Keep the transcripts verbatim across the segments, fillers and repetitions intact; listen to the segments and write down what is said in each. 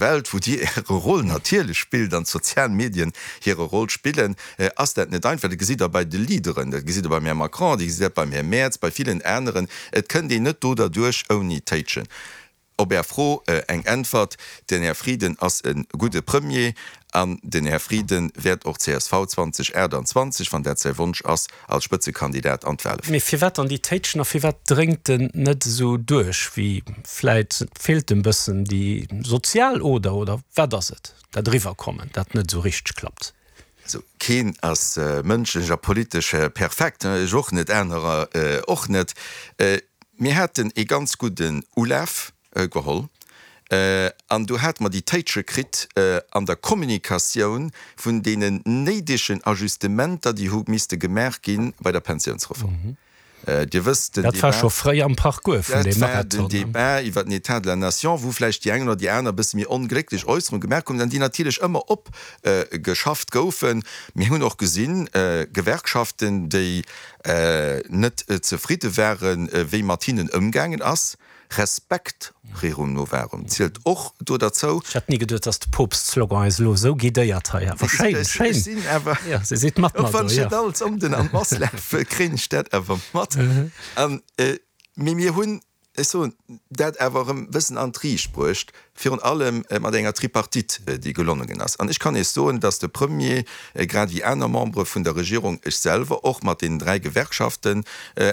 Welt, wou Dir Äre Roll natierlech spillt an d'sozial Medien hire Roll spillen, ass dat net einfach. Dat gesitt Der bei de Leaderen, dat gesitt Der beim Här Macron, Dir gesitt dat beim Här Merz, bei villen aneren. Et kënnt een net do derduerch ouni Téitschen. Op Är Fro eng Äntwert, Den Här Frieden ass e gudde Premier an den Här Frieden wäert och csv zweedausendachtundzwanzeg, wann dat säi Wonsch ass, als Spëtzekandidat an d'Wahle féieren. Mee firwat dann déi Téitschen a firwat dréngt en net esou duerch wéi vläit? Feelt em bëssen déi sozial Oder oder wat ass et, dat Eriwwerkommen, dat net esou richteg klappt? Also keen ass mënschlech a politesch perfekt, ech och net, anerer och net. Mir haten ee ganz gudden Ulaf geholl an do hate mer déi Téitsche kritt an der Kommunikatioun vun deenen néidegen Ajustementer, déi hu misste gemaach gi bei der Pensiounsreform. Dir wësst, den Dat war Débat, scho fréi am Parcours vun dat deem war den Marathon. Débat iwwer den État de la nation, wou vläicht déi eng oder déi aner e bësse méi onglécklech Äusserung gemaach hunn an déi natierlech ëmmer opgeschafft goufen. Mir hunn och gesinn, Gewerkschaften, déi net zefridde waren, wéi mat hinnen ëmgaangen ass. Respekt rerum novarum zielt och do derzou. Ech hätt ni geduet, dass de Poopst-Slogan eis elo esou guidéiert hei. Awer schéin, Ech schéin. sinn awer, Jo, se sidd mat och mer wann do, ech jo. net all Sonnden an d'Mass lafen, kréien ech dat awer mat. An, mee mir hunn, ech soen, dat awer erëm e bëssen an d'Riicht bruecht, virun allem mat enger Tripartite, déi gelongen ass. An ech kann Iech soen, dass de Premier, grad ewéi aner Membere vun der Regierung, ech selwer och, mat deenen dräi Gewerkschaften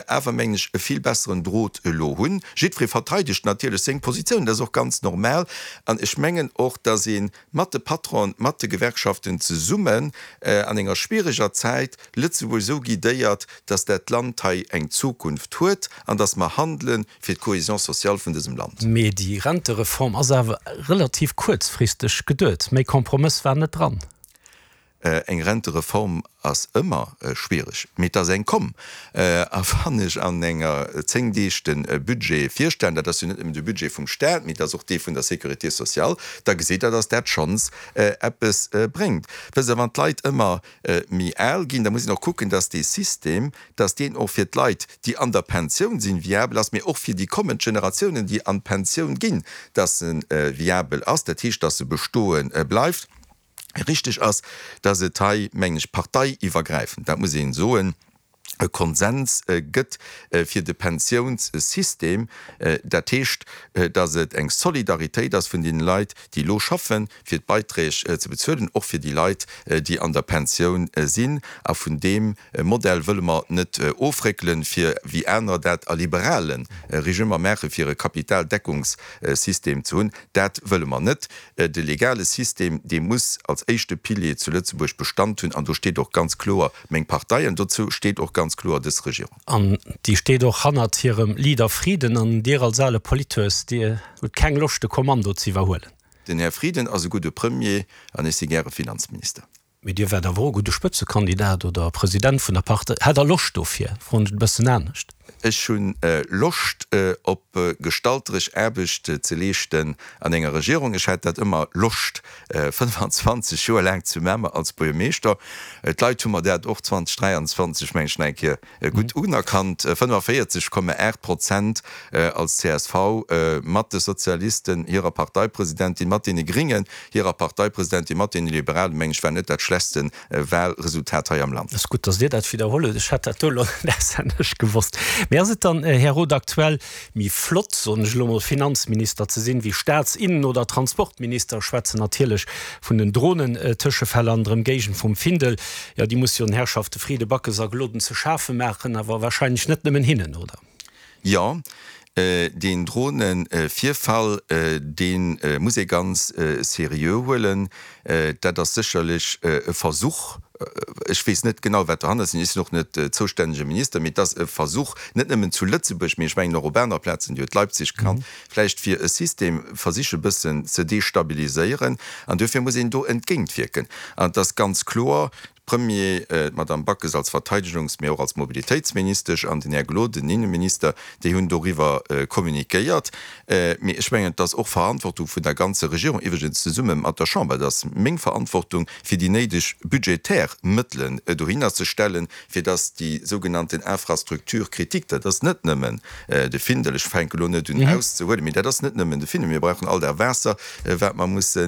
awer, mengen ech, e vill besseren Drot elo hunn. Jiddweree verteidegt natierlech seng Positioun, dat ass och ganz normal. An ech mengen och, dass ee mat de Patronen, mat de Gewerkschaften zesummen an enger schwiereger Zäit Lëtzebuerg esou guidéiert, dass dat Land hei eng Zukunft huet an dass mer handele fir d'Cohésion sociale vun dësem Land. Mee déi Rentereform ass awer relativ kuerzfristeg geduet. Méi Kompromëss war net dran. Eng Rentereform ass ëmmer schwiereg, mee et ass eng komm. A wann ech an enger zéng Deeg de Budget virstellen, dat ass jo net nëmmen de Budget vum Staat, mee et ass och dee vun der Sécurité sociale, da gesitt Der, dass dat schonns eppes bréngt. Wësst Der, wann d'Leit ëmmer méi al ginn, da muss een och kucken, dass dee System, dass deen och fir d'Leit, déi an der Pensioun sinn, viabel ass, mee och fir déi kommend Generatiounen, déi an d'Pensioun ginn, dass e viabel ass, dat heescht, dass e bestoe bleift. Richteg ass, dass et hei, mengen ech, parteiiwwergräifend, dat muss een soen, e Konsens gëtt fir de Pensiounssystem. Dat heescht, dass et eng Solidaritéit ass vun deene Leit, déi elo schaffen, fir d'Beiträg ze bezuelen, och fir déi Leit, déi an der Pensioun sinn. A vun deem Modell wëlle mer net ofréckelen, fir, wéi anerer dat a liberale Regimmer maachen, fir e Kapitaldeckungssystem ze hunn. Dat wëlle mer net. De legale System, dee muss als éischte Pilier zu Lëtzebuerg Bestand hunn, an do steet och ganz kloer meng Partei an dozou steet och ganz kloer dës Regierung. An déi steet och hannert hirem Leader Frieden. An Dir als ale Polithues, Dir hutt keng Loscht de Kommando ze iwwerhuelen? Den Här Frieden ass e gudde Premier an ech si gäre Finanzminister. Mee Dir wäert awer och e gudde Spëtzekandidat oder President vun der Partei. Hätt Der Loscht dofir? Froen ech et e bëssen anescht. Ech hu Loscht op gestalteresch Aarbecht ze leeschten an enger Regierung. Ech hat dat ëmmer Loscht, fënnefanzwanzeg Joer laang zu Mamer als Buergermeeschter. D'Leit hu mer dat och zweedausend dräianzwanzeg, meng ech, nach eng Kéier gutt unerkannt, fënnefavéierzeg Komma aacht Prozent als csv mat de Sozialisten hirer Parteipresidentin, mat deene Gringen hirer Parteipresidentin, mat deene Liberalen, meng ech, war net dat schlechtste Wahlresultat hei am Land. Ass gutt, dass Dir dat widderholl hutt. Ech hätt dat do elo net auswenneg gewosst. Mee ass et dann, Här Roth, aktuell méi flott, soen ech elo mol, Finanzminister ze sinn, wéi Staats-, Innen oder Transportminister? Ech schwätzen natierlech vun den Dronen-Tëschefäll an der Ëmgéigend vum Findel. Jo, déi muss jo den Herrschafte Frieden, Backes a Gloden ze schafe maachen, awer wahrscheinlech net nëmmen hinnen, oder? Jo, deen Drohne-Virfall, dee muss ee ganz seriö huelen. Dat ass sécherlech e Versuch, ech weess net genau, wat dohannert sinn, ech sinn och net zoustännege Minister, mee et ass e Versuch, net nëmmen zu Lëtzebuerg, mee ech mengen och op aner Plazen, Dir hutt Leipzig genannt, vläicht fir e System versiche bëssen ze destabiliséieren. An duerfir muss een do entgéintwierken. An et ass ganz kloer, Premier, d'Madame Backes als Verteidegungs-, mee och als Mobilitéitsministesch an den Här Gloden, den Innenminister, déi hunn doriwwer kommuniquéiert. Mee ech mengen, et ass och Verantwortung vun der ganzer Regierung, iwwregens zesumme mat der Chamber, et ass meng Verantwortung, fir déi néideg budgetär Mëttelen dohinner ze stellen, fir dass déi sougenannten Infrastructures critiques, dat ass net nëmmen de Findel, ech fänke lo net un auszehuelen, mee dat ass net nëmmen de Findel, mir brauchen all dat Waasser, wat mer mussen